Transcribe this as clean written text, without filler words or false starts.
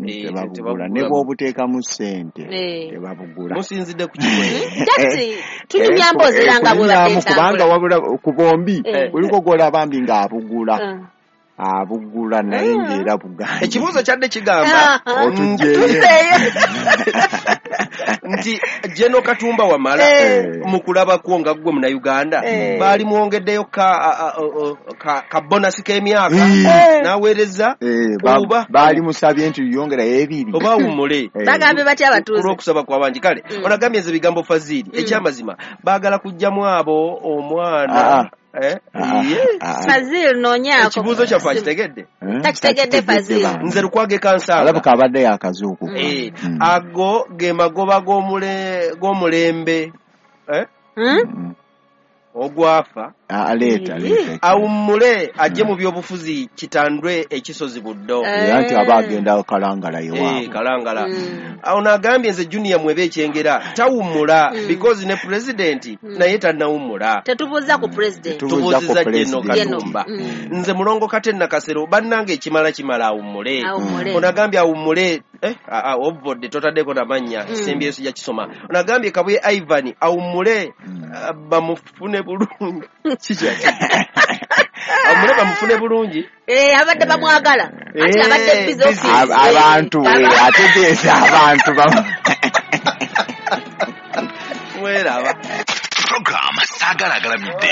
Tebabugula ne bw'obuteekamu ssente, tebabugula. Musinzidde ku kimwe. Just tunyumya mboozi era nga bwe Kunyumyamu, kubanga batentambula. Wabula ku bombi kuliko gw'olaba mbi ng'abugula, abugula, naye ng'era buganda. Ekibuuzo kyadde kigamba Otugyeyo. nti General Katumba Wamala, mu kulabako nga ggwe Munnayuganda, baali mwongeddeyo ka bonus k'emyaka n'aweereza oba Baali musabye nti yongerayo 2 oba awummule. Bagambye batya abatuuze? Olw'okusaba kw'abangi. Kale onagambye nze bigambo Fazili, ekyamazima baagala kuggyamu abo omwana. Ye. Fazil, noonyaako. Ekibuuzo kyaffe akitegedde? Takitegedde, Fazil. Nze Lukwago Kansanga. Alabika abadde yakazuukuka. Ago ge magoba g'omulembe ogwafa. Aleeta, aleeta. Awummule ajje mu byobufuzi, kitandwe ekisozi Buddo. Era nti aba agenda Kalangala ewaabwe. Kalangala. Awo n'agambye nze Junior Mwebe Ekyengera, tawummula because ne pulezidenti naye tannawummula. Tetubuuza ku president. Tubuuza ku Tubuuziza General president. Katumba. Nze Mulongo Kate Nakasero, bannange, ekimala kimala, awummule. Awummule. Onagambye awummule, ovodde totaddeko namannya, sembyeyo sijja kisoma. Onagambye Kabuye Ivan awummule, bamufune bulungi. Kikyaki awummule bamufune bulungi? Abadde bamwagala ati abadde busy busy. office. Abantu ategeeza abantu Mweraba. Program Saagala Agalamidde.